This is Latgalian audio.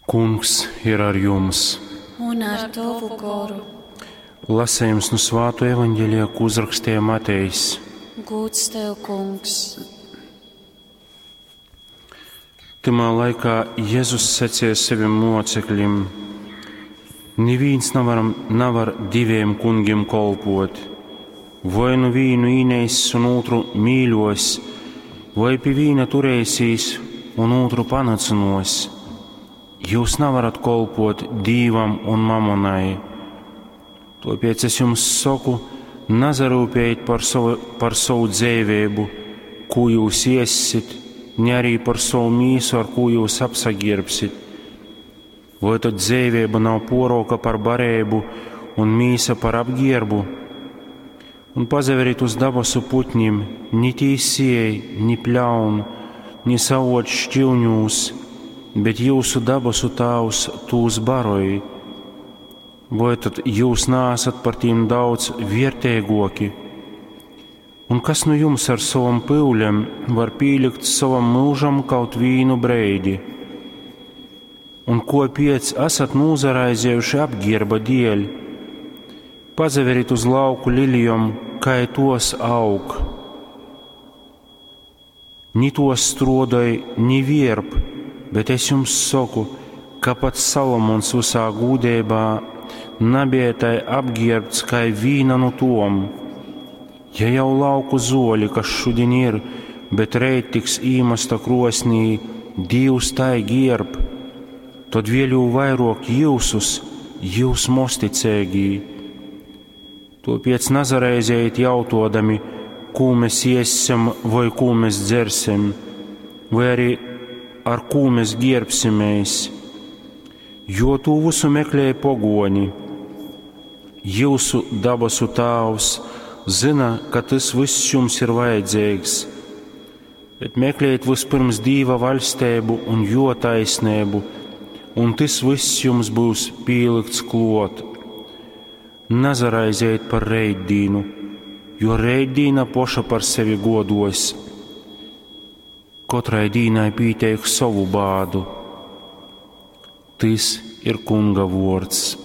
Kungs ir ar jums! Un ar tovu goru. Lasējums nu Svāto evaņģēlija, ko uzrakstīja Matejs. Gūds tev, kungs! Tymā laikā Jezus sacīja saviem mocekļiem: Nivīns navar, navar diviem kungiem kolpot. Voi nu vīnu īneiss un ūtru mīļos, voi pi vīna turēsīs un ūtru panacynuos. Jūs navarat kolpot Dīvam un mamonai. Tāpēc es jums saku, nazarūpējiet par savu, par savu dzīvību, ko jūs iesit, ne arī par savu mīsu, ar ko jūs apsagirbsit. Vai tad dzīvība nav poroka par barību un mīsa par apgierbu? Un pazaveriet uz dabasu putņiem, ni tī siej, ni pļaun, ni savot šķilņūs, bet jūsu dabasu tāvs tūs baroj. Vai tad jūs nāsat par tīm daudz viertēgoki? Un kas nu jums ar savam pyulem var pīlikt savam mūžam kaut vīnu breidi? Un ko piec esat nūzaraizējuši apgierba dēļ? Pazaverit uz lauku lilijom, kai tos aug. Ni tos strodoj, ni vierp, bet es jums saku, ka pat Salomons visā gūdībā nebija tai apģērbts kā vīna no tom. Ja jau lauku zoļi, kas šodien ir, bet reit tiks īmesta krosnī, Dievs tai gierb, tad vēl jau vairāk jūsus, jūs mosticēgī. Tāpēc nazaraizējiet jautodami, kū mēs iesim vai kū mēs dzersim, vai arī ar kū mēs gierbsimies, jo tū visu meklē pogoni. Jūsu dabasu tāvs zina, ka tas viss jums ir vajadzīgs, bet meklējiet vispirms Dīva vaļstību un jo taisnību, un tas viss jums būs pielikts klot. Nazaraizējiet par reitdīnu, jo reitdīna poša par sevi godos. Katrai dīnai pīteik savu bādu. Tys ir Kunga vārds.